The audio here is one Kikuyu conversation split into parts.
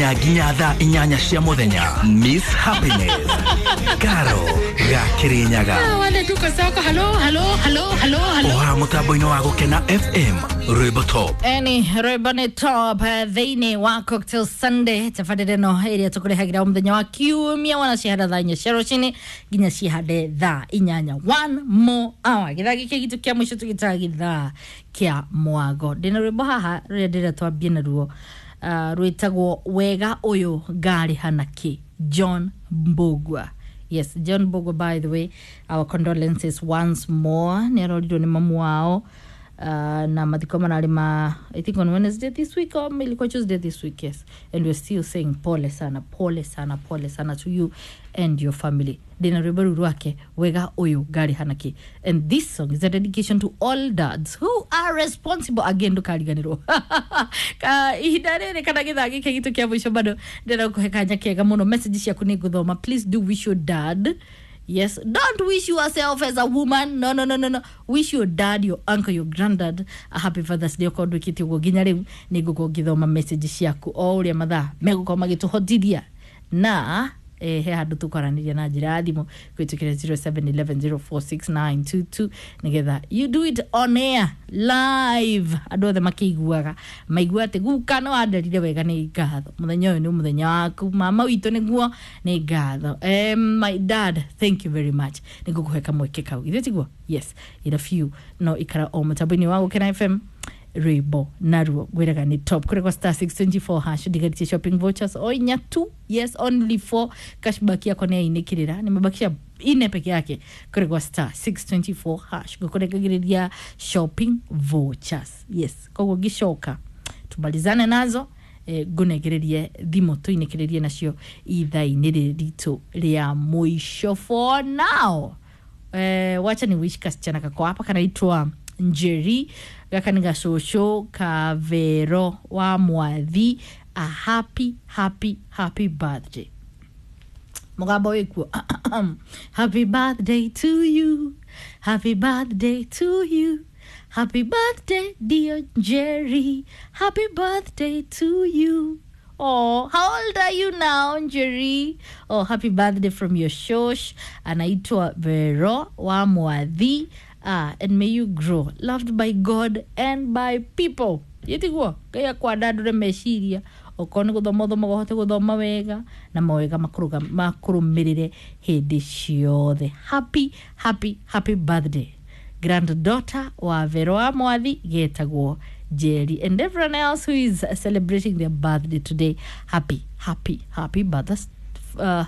Nginya thaa 8 cia muthenya, Miss Happiness Karo Gakirinyaga. Wale tuko soko. Halo, halo, halo, halo, halo. Oha mutambo-inĩ wa Gũkena FM, rwĩmbo top. Eni rwĩmbo nĩ top thĩinĩ wa Cocktail Sunday, tabarĩra ĩno ĩrĩa tũkũrehagĩra o mũthenya wa kiumia wana cihanda thaa 4 cia rũcinĩ nginya cihande thaa 8, one more hour. Gĩthaa gĩkĩ gitũ kĩa mũico tũgĩtaga gĩthaa kĩa mwago. Ndĩna rwĩmbo haha rũrĩa ndĩrĩa twambie naruo, rwĩtagwo "Wega Ũyũ Ngarĩha Nakĩ", John Mbugua. Yes, John Mbugua, by the way, our condolences once more. Nĩ arorirwo nĩ mamu wao, na mathiko mararĩ ma, I think, on Wednesday this week or ilikuwa Tuesday this week. Yes, and we're still saying pole sana, pole sana, pole sana to you and your family. Ndĩna rwĩmbo rũu rwake, "Wega Ũyũ Ngarĩha Nakĩ", and this song is a dedication to all dads who are responsible. Again, ndũkariganĩrwo Ka, ihinda rĩrĩ kana gĩthaa gĩkĩ gitũ kĩa mũico bado ndĩrenda gũkũhe kanya kega mũno. Message ciaku nĩ ngũthoma. Please do wish your dad. Yes, don't wish yourself as a woman. No, no, no, no, no. Wish your dad, your uncle, your granddad a happy Father's Day. Okorwo ndwĩkĩte ũguo nginya rĩu, nĩ ngũkorwo ngĩthoma message ciaku o ũrĩa mathaa megũkorwo magĩtũhotithia, na he handũ tũkwaranĩria na njĩra ya thimũ kũhĩtũkĩra 0711046922 nĩgetha you do it on air live, andũ othe makĩiguaga, maigua atĩ guka nĩ wanderire wega, nĩ ngatho, mũthenya ũyũ nĩ mũthenya waku, mama witũ, nĩguo nĩ ngatho, my dad, thank you very much. Nĩ ngũkũhe kamweke kau, ithuĩ tiguo? Yes, in a few. No ikara o mũtambo-inĩ wa Gũkena FM, rwĩmbo naruo ngwĩraga nĩ top kũrĩ kwa *624#. Ndigarĩtie shopping vouchers o inya tu. Yes, only four. Cashback yakwa nĩ yainĩkĩrĩra, nimebakisha ine peke yake. Kũrĩ kwa *624#, ngũkũrengagĩrĩria shopping vouchers. Yes, koguo ngĩcoka tumalizane nazo, ngũnengererie thimũ tũinĩkĩrĩrie nacio ithaa-inĩ rĩrĩ ritũ rĩa mũico. For now, wacha ni wish kasichana kako hapa kanaitwa Njeri, gaka nĩ gacũcũ Kavero wa Mwathi, a happy, happy, happy birthday. Mũgambo wĩkuo. Happy birthday to you, happy birthday to you, happy birthday, dear Jerry, happy birthday to you. Oh, how old are you now, Jerry? Oh, happy birthday from your shosh anaitwa Vero wa Mwathi. Ah, and may you grow loved by God and by people. Yetiguo Ngai akwandandũre meciria, okorwo nĩ gũthoma ũthomaga ũhote gũthoma wega, na mawega makũrũmĩrĩre hĩndĩ ciothe. Happy, happy, happy birthday, granddaughter wa Vero wa Mwathi getagwo Jerry, and everyone else who is celebrating their birthday today, happy, happy, happy birthday,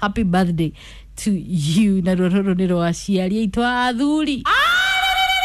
happy birthday to you. Na rũrũ nĩ rwa aciari aitũ a athuri.